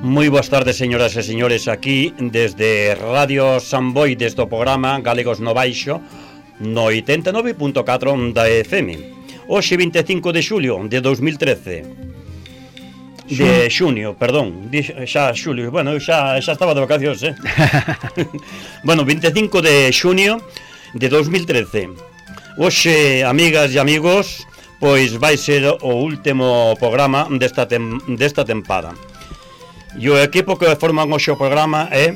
Moi boas tardes, señoras e señores, aquí desde Radio Samboy, desde o programa Galegos no Baixo, no 89.4 da FM. Hoxe 25 de xulio de 2013. De xunio, perdón, xa xulio, bueno, xa estaba de vacacións, Bueno, 25 de xunio de 2013. Hoxe, amigas e amigos, pois vai ser o último programa desta tempada. E o equipo que forman hoxe o programa é,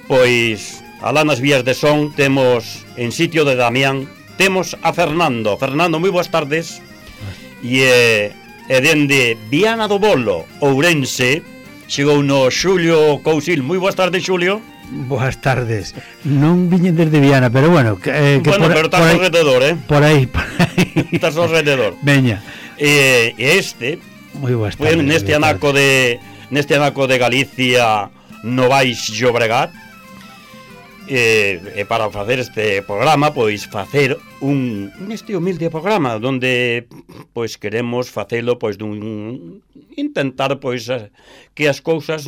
pois, alá nas vías de son temos, en sitio de Damián, temos a Fernando. Fernando, moi boas tardes. E dende Viana do Bolo, Ourense, chegou no Xulio Cousil. Moi boas tardes, Xulio. Boas tardes. Non viñen desde Viana, pero bueno, bueno, pero estás ao rededor, Por aí. Estás ao rededor. Veña. E este, moi boas tardes. Neste anaco de Galicia, no Baix Llobregat, e para facer este programa, pois facer neste humilde programa donde pois queremos facelo, pois intentar pois que as cousas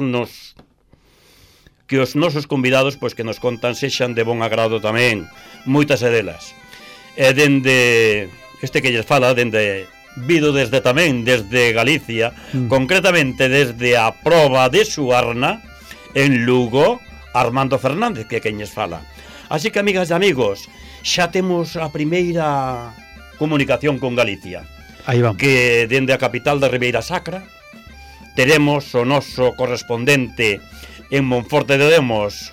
que os nosos convidados pois que nos contan sexan de bon agrado tamén, moitas delas. E dende este que lles fala, vido desde Galicia, concretamente desde a proba de Suarna, en Lugo, Armando Fernández, que é quen lles fala. Así que, amigas e amigos, xa temos a primeira comunicación con Galicia. Aí vamos. Que dende a capital da Ribeira Sacra teremos o noso correspondente en Monforte de Demos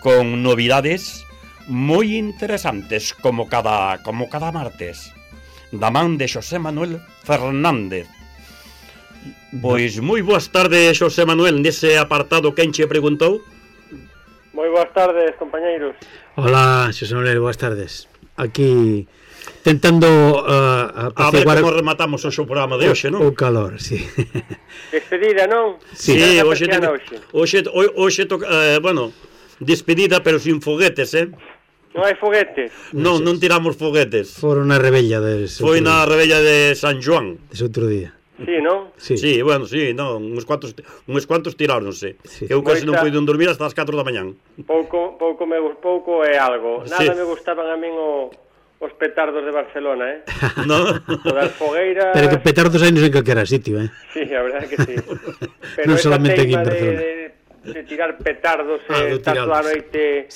con novidades moi interesantes como cada martes, da man de Xosé Manuel Fernández. Pois moi boas tardes, Xosé Manuel, nese apartado quen che preguntou? Moi boas tardes, compañeiros. Hola, Xosé Manuel, boas tardes. Aquí tentando a ver como rematamos o programa de hoxe, non? O calor, sí. Despedida, non? Sí, hoxe toca, bueno, despedida pero sin foguetes, Non hai foguetes? Non tiramos foguetes. Foron na rebella Foi na rebella de San Joan. Ese outro día. Sí, non? Sí, bueno, sí, non, uns cuantos tiráronse. Sí. Eu casi non puido dormir hasta as 4 da mañán. Pouco é algo. Nada me gustaban a min os petardos de Barcelona, No. O das fogueiras... Pero que petardos hai en calquera sitio, Sí, a verdade que sí. Non Pero solamente aquí en Barcelona. De tirar petardos estar toda a noite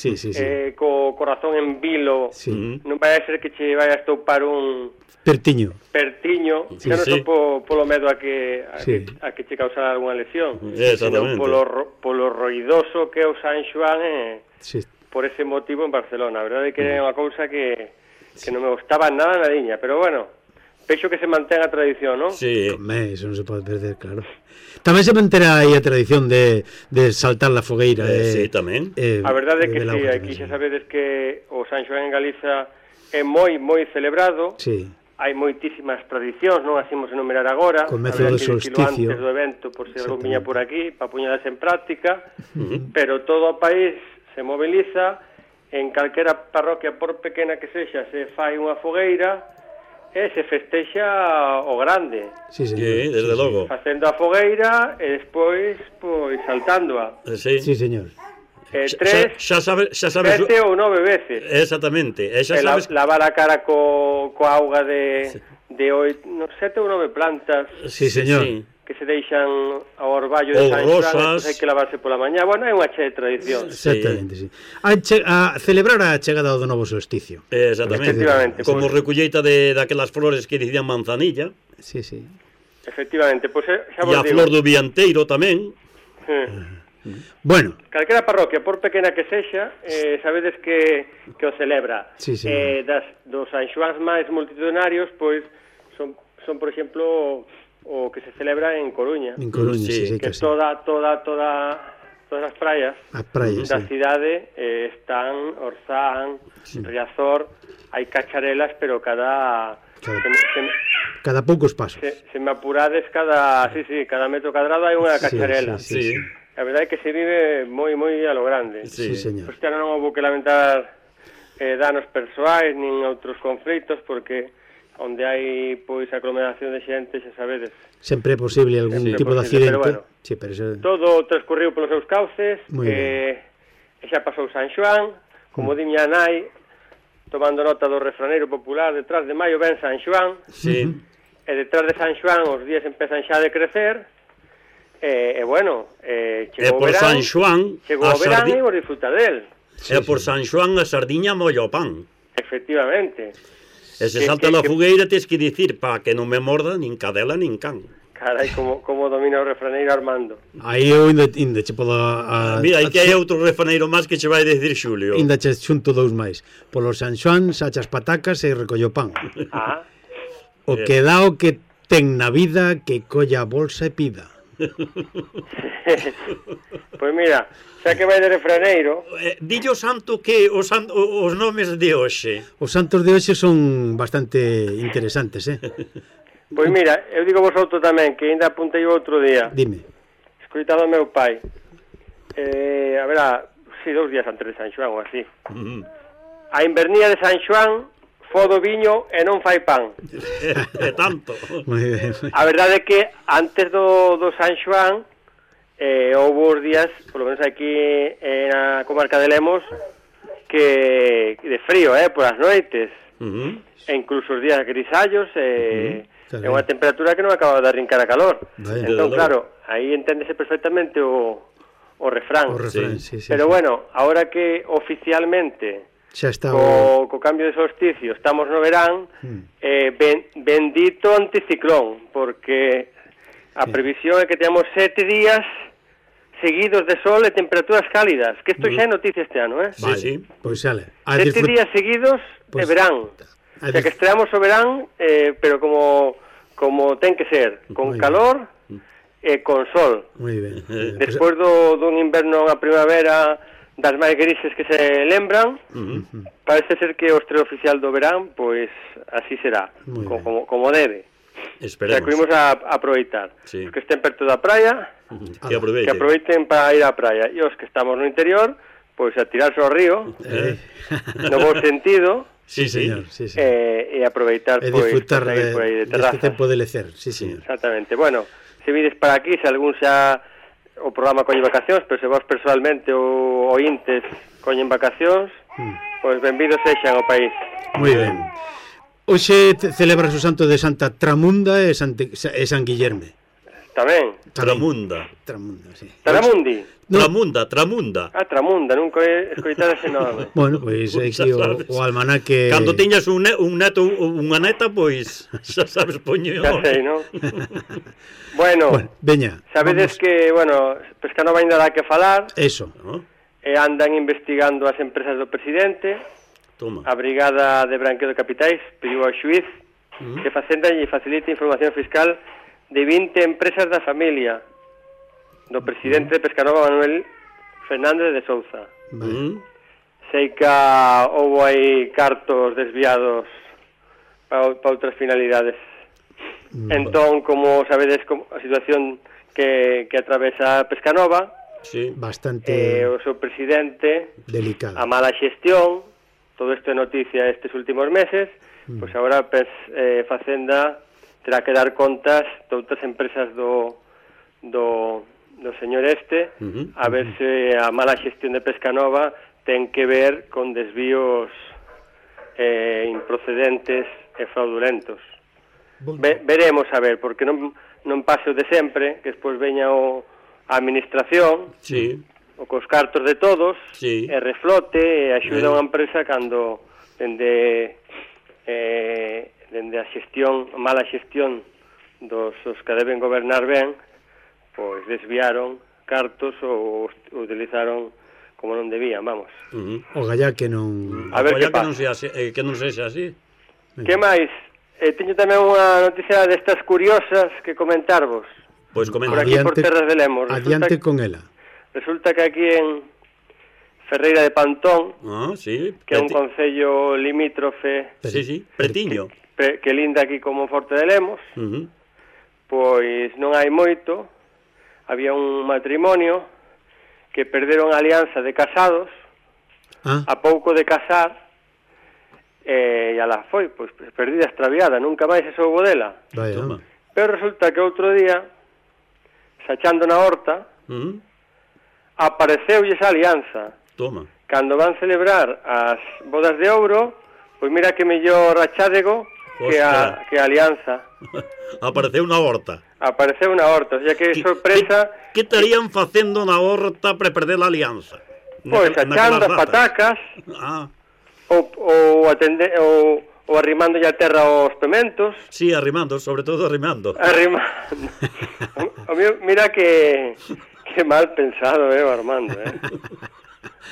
co corazón en vilo, non vai a ser que che vai a estopar un pertiño, xa non só polo medo a que che causara algunha lesión, senón polo roidoso que é o San Xoán, por ese motivo en Barcelona. A verdade é que é unha cousa que non me gustaba nada nadiña, pero bueno, peixo que se mantén a tradición, non? Sí, eso non se pode perder, claro. Tamén se manterá aí a tradición de saltar la fogueira. Sí, tamén. A verdade é que sí, aquí xa sabedes que o San Xoán en Galiza é moi celebrado. Sí. Hai moitísimas tradicións, non as imos enumerar agora. Comezo do solsticio. Antes do evento, por se algún viña por aquí, para poñelas en práctica, pero todo o país se moviliza, en calquera parroquia, por pequena que sexa, se fai unha fogueira, e se festexa o grande. Sí, desde logo. Facendo a fogueira e despois, pois, saltándoa. Sí, señor. 3, 7 ou 9 veces. Exactamente. Lavar a cara coa auga de 7 ou 9 plantas. Sí, señor. Que se deixan ao orballo de San Xoán, hai que lavarse pola mañá. Bueno, é unha che de tradición. Exactamente, sí. A celebrar a chegada do novo solsticio. Exactamente. Efectivamente. Como recolleita daquelas flores que dicían manzanilla. Sí. Efectivamente, pois xa vos digo. E a flor do vianteiro tamén. Bueno. Calquera parroquia, por pequena que sexa, sabedes que o celebra. Sí. Dos San Xoáns máis multitudinarios, pois, son por exemplo... o que se celebra en Coruña. En Coruña, sí, que todas as praias da cidade están Orzán, Riazor, hai cacharelas, pero cada poucos pasos. Se me apurades, cada metro cadrado hai unha cacharela. Sí. A verdade é que se vive moi a lo grande. Sí, señor. Pois non houve que lamentar danos persoais nin outros conflitos, porque onde hai pois aglomeración de xente, xa sabedes. Sempre é posible algún tipo de accidente. Pero bueno, sí, pero todo transcurriu polos seus cauces, e xa pasou San Xoán, como di miña nai, tomando nota do refraneiro popular, detrás de maio ven San Xoán, e detrás de San Xoán os días empezan xa a decrecer, e bueno, chegou o verán, chegou o verán e vos disfrutar del. E por San Xoán a sardiña molla o pan. Efectivamente. E se salta a fogueira tes que dicir para que non me morda nin cadela nin can. Carai, como domina o refraneiro Armando. Aí eu ainda che podo... Mira, aí que hai outro refraneiro máis que che vai decir Xulio. Ainda che xunto dous máis. Polo San Xoán sachas patacas e recollo pan. O que dá o que ten na vida, que colla a bolsa e pida. Pois mira, xa que vai de refraneiro... Dillo santo que os nomes de hoxe. Os santos de hoxe son bastante interesantes, Pois mira, eu digo vos outro tamén, que ainda apuntei outro día. Dime. Escoitado ao meu pai. A verá, 2 días antes de San Xoán ou así. A invernía de San Xoán fodo viño e non fai pan. É tanto. A verdade é que antes do San Xoán houve os días, polo menos aquí na comarca de Lemos, que de frío, por as noites. E incluso os días grisallos, é unha temperatura que non acaba de arrincar a calor. Entón, claro, aí enténdese perfectamente o refrán. Pero bueno, ahora que oficialmente co cambio de solsticio estamos no verán, bendito anticiclón, porque a previsión é que temos 7 días seguidos de sol e temperaturas cálidas, que isto xa é noticia este ano, Sí, pois sale. 7 días seguidos de verán. O sea, que estreamos o verán, pero como ten que ser, con calor e con sol. Moi ben. Despois dun inverno a primavera das máis grises que se lembran, parece ser que o estreo oficial do verán, pois así será, como debe. Esperemos. O sea, que vimos a aproveitar. Os que estén perto da praia, que aproveiten para ir á praia. E os que estamos no interior, pois a tirarse ao río, no bo sentido, Sí, señor. E aproveitar, e disfrutar deste tempo de lecer. Sí, señor. Exactamente. Bueno, se vides para aquí, se algún xa o programa colle vacacións, pero se vos personalmente ou ointes coñen vacacións, pois benvidos sexan ao país. Moi ben. Hoxe celebras o santo de Santa Tramunda e San Guillerme. Tamén. Tramunda, sí. Tramundi. Tramunda. Tramunda, nunca he escoitado ese nome. Bueno, pois é que o almanaque... Cando tiñas un neto ou unha neta, pois xa sabes poñer. Xa sei, non? Bueno, veña. Sabedes que, Pescanova ainda dá que falar. Eso. E andan investigando as empresas do presidente. Toma. A Brigada de Branqueo de Capitais pediu ao xuiz que Facenda lle facilite información fiscal de 20 empresas da familia do presidente de Pescanova, Manuel Fernández de Souza. Sei que houve aí cartos desviados para outras finalidades. Entón, como sabedes, a situación que atravesa Pescanova, bastante o seu presidente, delicado, a mala xestión, todo isto é noticia estes últimos meses, pois agora Facenda terá que dar contas de outras empresas do señor a ver se a mala xestión de Pescanova ten que ver con desvíos improcedentes e fraudulentos. Veremos a ver, porque non pase o de sempre, que despois veña a administración, o cos cartos de todos, e reflote e axuda a unha empresa cando dende a xestión, a mala xestión dos que deben gobernar ben, pois desviaron cartos ou utilizaron como non debían, vamos. O gallá que non... A ver que non sexa así. Que máis? Teño tamén unha noticia destas curiosas que comentarvos. Pois comenta. Por aquí, por terras de Lemos. Adiante con ela. Resulta que aquí en Ferreira de Pantón, que é un concello limítrofe... Pretiño. Que linda aquí como Forte de Lemos, pois non hai moito, había un matrimonio que perderon a alianza de casados, a pouco de casar, e ala foi, pois, perdida, extraviada, nunca máis se soubo dela. Pero resulta que outro día, sachando na horta, apareceulles a alianza. Toma. Cando van celebrar as bodas de ouro, pois mira que mellor rachádego que a alianza. Apareceu na horta. Apareceu na horta, o sea que sorpresa... Que estarían facendo na horta para perder a alianza? Pois, achando as patacas, ou arrimando a terra aos pementos. Sí, arrimando, sobre todo arrimando. Mira que mal pensado, Armando,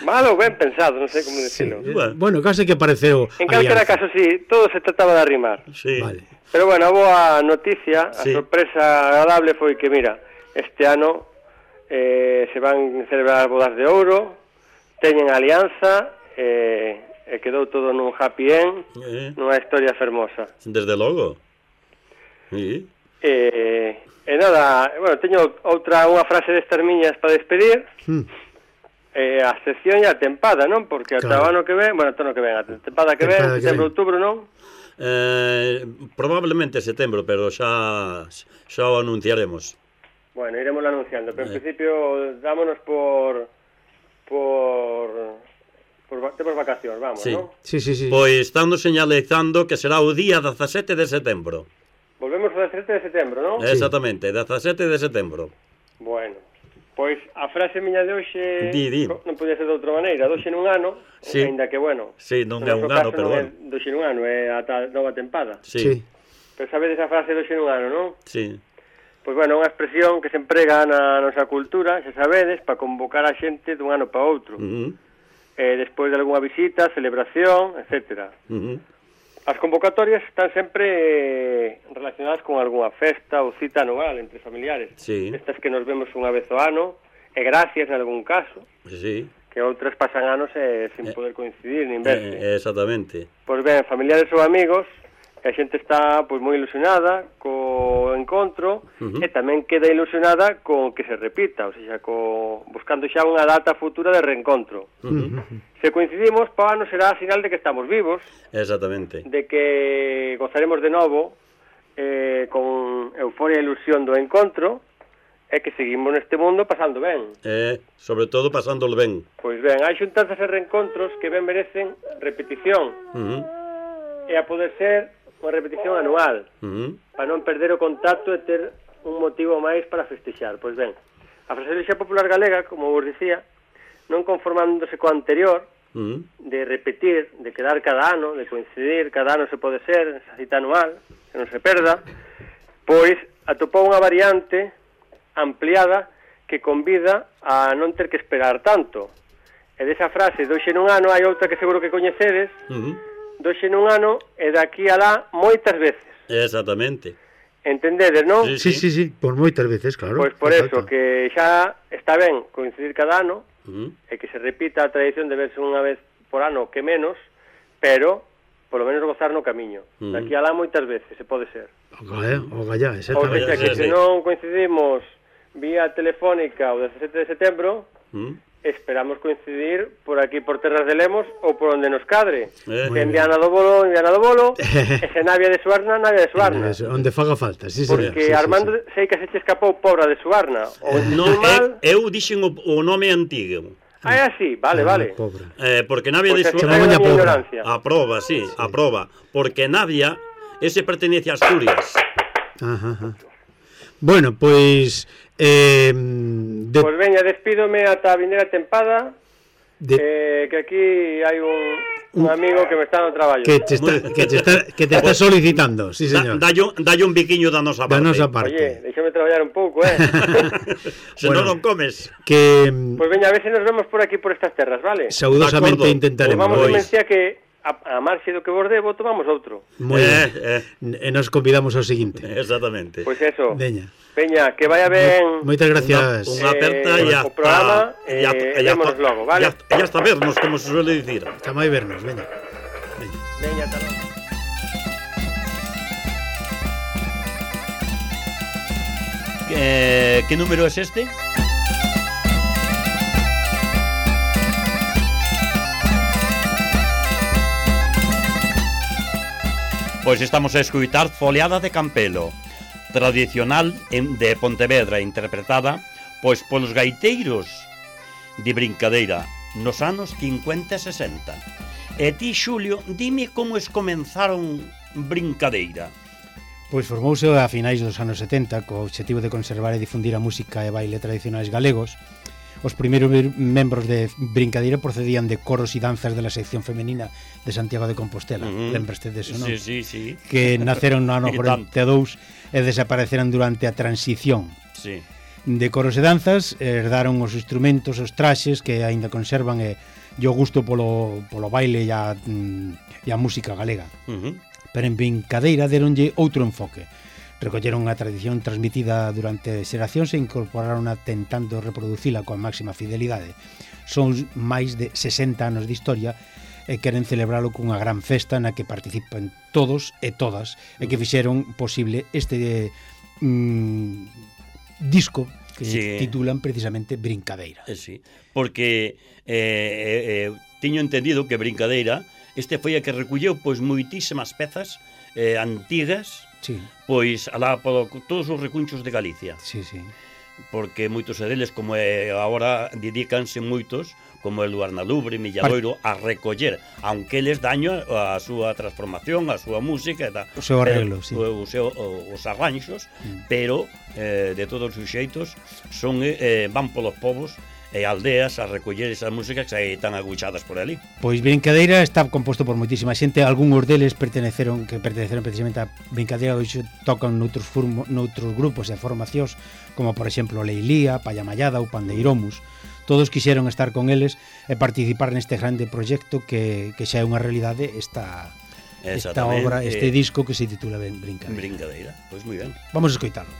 Mal ou ben pensado, non sei como decirlo. Sí, bueno, case que pareceu... En calquera caso, sí, todo se trataba de arrimar. Sí. Vale. Pero bueno, a boa noticia, a sorpresa agradable foi que, mira, este ano se van celebrar bodas de ouro, teñen alianza, e quedou todo nun happy end, nunha historia fermosa. Desde logo. Sí. E nada, bueno, teño unha frase destas miñas para despedir. A sección e a tempada, non? Porque ata o ano que ven, a tempada que ven, setembro, outubro, non? Probablemente setembro, pero xa o anunciaremos. Bueno, iremos anunciando, pero en principio dámonos por temos vacacións, vamos, sí. non? Sí. Pois estamos señalizando que será o día 17 de setembro. Volvemos o 17 de setembro, non? Exactamente, 17 de setembro. Bueno, pois a frase miña de hoxe non podía ser de outra maneira, doxe nun ano, ainda que, bueno, sí, non é un ano, pero bueno. Doxe nun ano, é ata nova tempada. Sí. Pero sabedes a frase doxe nun ano, non? Sí. Pois, bueno, unha expresión que se emprega na nosa cultura, se sabedes, para convocar a xente dun ano para outro. Despois de algunha visita, celebración, etc. As convocatorias están sempre relacionadas con algunha festa ou cita anual entre familiares. Sí. Estas que nos vemos unha vez ao ano, e gracias en algún caso. Sí. Que outras pasan anos sin poder coincidir nin verse. Exactamente. Pois ben, familiares ou amigos, a xente está pois moi ilusionada co encontro e tamén queda ilusionada con que se repita, ou seja, buscando xa unha data futura de reencontro. Se coincidimos, para o ano será sinal de que estamos vivos. Exactamente. De que gozaremos de novo con euforia e ilusión do encontro e que seguimos neste mundo pasando ben. Sobre todo pasándolo ben. Pois ben, hai xuntanzas e reencontros que ben merecen repetición. E a poder ser unha repetición anual, para non perder o contacto e ter un motivo máis para festexar. Pois ben, a fraseoloxía popular galega, como vos dicía, non conformándose co anterior, de repetir, de quedar cada ano, de coincidir, cada ano se pode ser, esa cita anual, que non se perda, pois atopou unha variante ampliada que convida a non ter que esperar tanto. E desa frase, doxe nun ano, hai outra que seguro que coñecedes, doxe nun ano e daqui alá moitas veces. Exactamente. Entendedes, non? Sí, por moitas veces, claro. Pois por eso, que xa está ben coincidir cada ano, e que se repita a tradición de verse unha vez por ano que menos, pero polo menos gozar no camiño. Daqui alá moitas veces, se pode ser. O gallá, exactamente. Ou seja, que se non coincidimos vía telefónica o 17 de setembro, esperamos coincidir por aquí por Terras de Lemos ou por onde nos cadre. En Viana do Bolo, e se Navia de Suarna, onde faga falta, sí. Porque Armando sei que se che escapou Pobra de Suarna. Eu dixen o nome antigo. É así, vale. Porque Navia de Suarna aproba, sí, aproba. Porque Navia, ese pertenece a Asturias. Bueno, pois... Pois veña, despídome ata a vindeira tempada, que aquí hai un amigo que me está no traballo. Que te está solicitando, sí, señor. Dalle un biquiño da nosa parte. Oye, déxame traballar un pouco, Se non comes. Pois veña, a ver se nos vemos por aquí, por estas terras, vale? Saudosamente intentaremos. Vamos a mencionar que a marxe do que vos debo, tomamos outro. Moi ben. E nos convidamos ao seguinte. Exactamente. Pois eso. Veña, que vaya ben. Moitas gracias. Unha aperta e o programa, e vémonos logo, vale? E hasta vernos, como se suele dicir. Hasta máis vernos, veña. Veña, hasta logo. ¿Qué número es este? Pois estamos a escutar Foliada de Campelo, tradicional de Pontevedra, interpretada pois polos gaiteiros de Brincadeira nos anos 50 e 60. E ti, Xulio, dime como comenzaron Brincadeira. Pois formouse a finais dos anos 70 co obxectivo de conservar e difundir a música e baile tradicionais galegos. Os primeiros membros de Brincadeira procedían de coros e danzas de la sección femenina de Santiago de Compostela. Lembraste de eso, non? Sí. Que naceron no ano 42 e desapareceran durante a transición. Sí. De coros e danzas herdaron os instrumentos, os traxes que aínda conservan e o gusto polo baile e a música galega. Pero en Brincadeira deronlle outro enfoque. Recolleron a tradición transmitida durante xeracións e incorporaron tentando reproducila coa máxima fidelidade. Son máis de 60 anos de historia e queren celebralo cunha gran festa na que participan todos e todas e que fixeron posible este disco que titulan precisamente Brincadeira. Sí, porque teño entendido que Brincadeira foi a que recolleu pois moitísimas pezas antigas, pois alá por todos os recunchos de Galicia. Sí. Porque moitos deles, como agora dedícanse moitos, como el Luarnalubre, Milladoiro, a recoller, aunque eles daño a súa transformación, a súa música, o seu arreglo, os arranxos, pero de todos os xeitos van polos povos e aldeas a recoller esas músicas que están aguchadas por ali. Pois Brincadeira está composto por moitísima xente, algúns deles perteneceron precisamente a Brincadeira, hoxe tocan noutros grupos e formacións, como por exemplo Leilía, Payamallada ou Pandeiromus. Todos quixeron estar con eles e participar neste grande proxecto que xa é unha realidade esta obra, este disco que se titula Brincadeira. Pois moi ben. Vamos a escoitarlo.